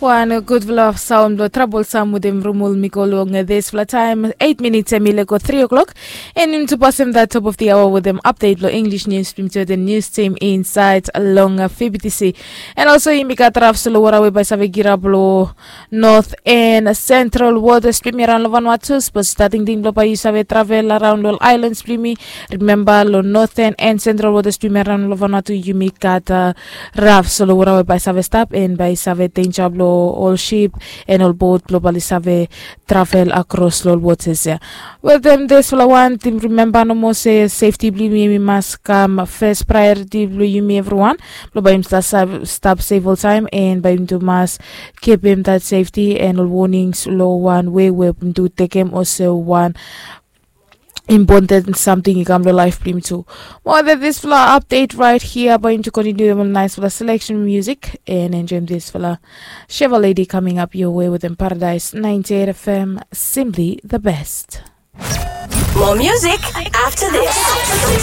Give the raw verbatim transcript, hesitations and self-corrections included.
Wan gudfala saon blong trabol sam wetem rumul mi go long disfala taem. Eit minits em i lego tri o'klok. An yumi tu pasem dat top of the hour wetem apdet blong English nius blong yumi tu wetem nius tim insaed long fibitisi. An olso yumi gat raf solo wara we bae save girap long not an sentral wotas blong yumi araon long vanua tu sapos tingting blong bae yu save travel araon long aelans blong yumi. Rimemba long not an sentral wotas blong yumi araon long vanua tu yumi gat raf solo wara we bae save stap an bae save denja blong ol sip an ol bot blong bae oli save travel akros long ol wotas ya. Wetem disfala wan tim rimemba nomo se sefti blong yumi mas kam fes praeoriti blong yumi evriwan blong bae yumi stap sef oltaem an bae yumi tu mas kipim dat sefti an ol wonings long wan we we yumi tu tekem olsem wan impoten samting i kam long laef blong yumi tu. Mo wetem disfala apdet raet hia bae yumi tu kontiniu wetem ol naesfala seleksen musik an enjoem disfala Chevrolet coming up your way wetem Paradise ninety-eight F M, simply the best. More music after this.